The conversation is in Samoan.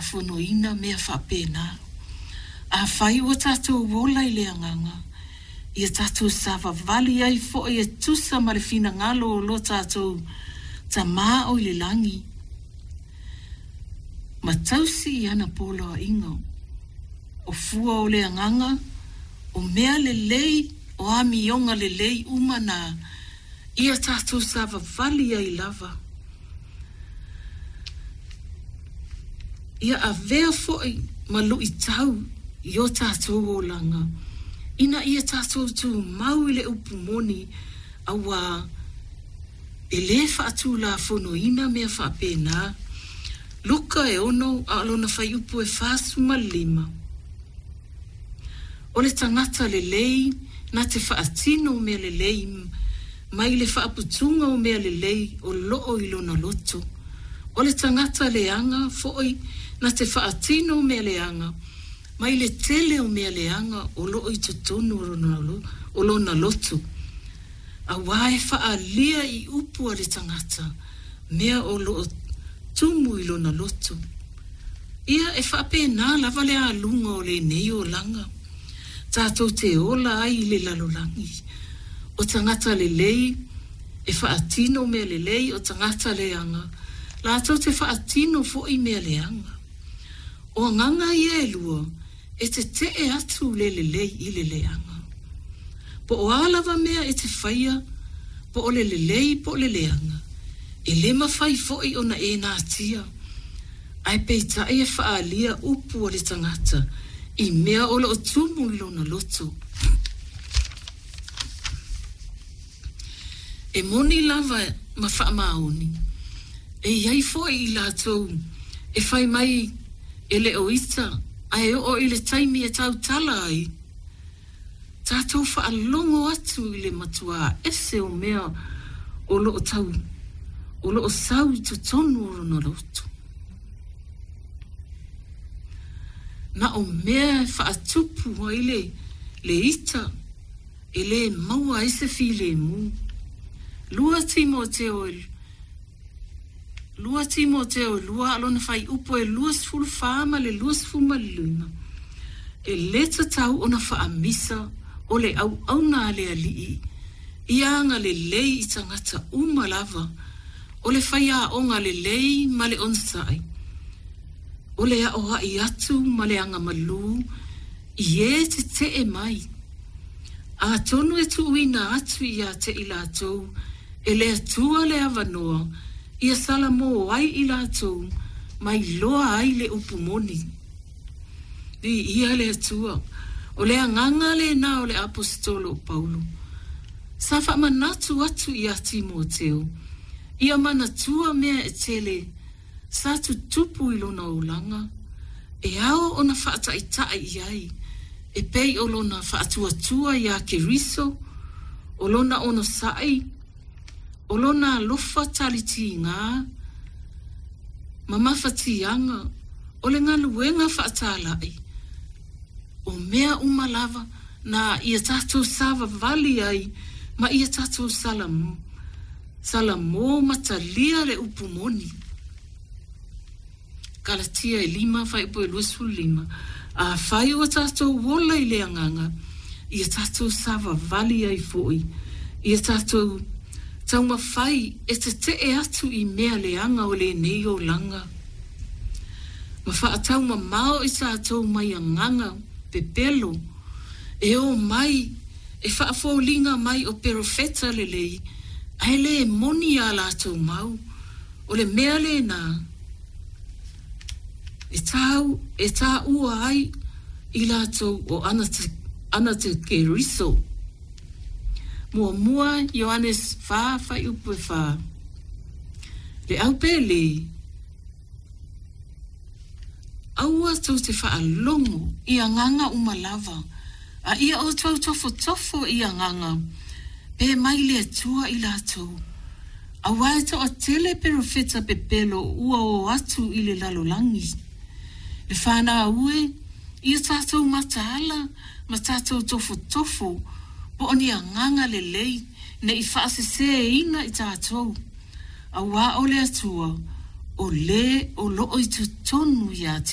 faatulafonoina mea faapena. Afai ua tatou ola i le Agaga, ia tatou savavali ai foi e tusa ma le finagalo o lo tatou Tama o i le lagi, ma tausi i ana poloaiga. O fua o le Agaga, o mea lelei, o amioga lelei uma na, ia tatou savavali ai lava. Ia avea foi ma luitau i o tatou olaga, ina ia tatou tumau i le upu moni, auā e lē faatulafonoina mea faapena. Luka e 6 a o lona fuaiupu e 45. O le tagata lelei na te faatino mea lelei mai le faaputuga o mea lelei o loo i lona loto. O le tagata leaga foi na te faatino mea leaga mai le tele o mea leaga o loo i totonu o lona loto. Auā e faaalia i upu a le tagata mea o loo tumu i lona loto. Ia e faapena lava le aluga o lenei olaga tatou te ola ai i le lalolagi. O tagata lelei e faatino mea lelei, o tagata leaga latou te faatino foi mea leaga. O agaga ia e lua e tetee atu le lelei i le leaga. Po o a lava mea e te faia, po o le lelei po o le leaga, e lē mafai foi ona e natia, ae peitai e faaalia upu a le tagata i mea o loo tumu i lona loto. E moni lava ma faamaoni, e i ai foi i latou e fai mai e le o ita ae oo i le taimi e tautala ai, tatou faalogo atu i le matuā ese o mea o loo tau o loo sau i totonu o lona loto. Na o mea e faatupu ai le le ita e lē maua ai se filemu. 2 Timoteo e 2 Timoteo 2 a o lona fuaiupu e 24 ma le 25, E lē tatau ona faamisa o le auauna a le Alii ia agalelei i tagata uma lava, o le faiaoga lelei ma le onosai, o le aoai atu ma le agamalū i e tetee mai. Atonu e tuuina atu ia te i latou e le Atua le avanoa ia salamō ai i latou ma iloa ai le upu moni. Viia le Atua! O le agaga lena o le Aposetolo o Paulo. Sa faamanatu atu iā Timoteo, ia manatua mea e tele sa tutupu i lona olaga, e ao ona faataitai i ai, e pei o lona faatuatua iā Keriso, o lona onosai, o lona alofa talitigā, ma mafatiaga, o le galuega faatalai, o mea uma lava na ia tatou savavali ai ma ia tatou salamō ma talia le upu moni. Kalatia e 5, fuaiupu e 25, Afai ua tatou ola i le Agaga, ia tatou savavali ai foi, ia tatou taumafai e tetee atu i mea leaga o lenei olaga, ma faataumamao i tatou mai agaga pepelo e o mai e faafoliga mai o perofeta lelei, ae lē moni a latou mau. O le mea lena e tau e taua ai i latou o Anatekeriso. Muamua Ioanes 4 fuaiupu e 4. Le au pele, aua tou te faalogo i agaga uma lava, a ia outou tofotofo i agaga, pe mai le Atua i latou. Auā e toatele perofeta pepelo ua o atu i le lalolagi. Le fanau e, ia tatou mataala ma tatou tofotofo po o ni agaga lelei ne i faasesēina i tatou, auā o le Atua o lē o loo i totonu iā.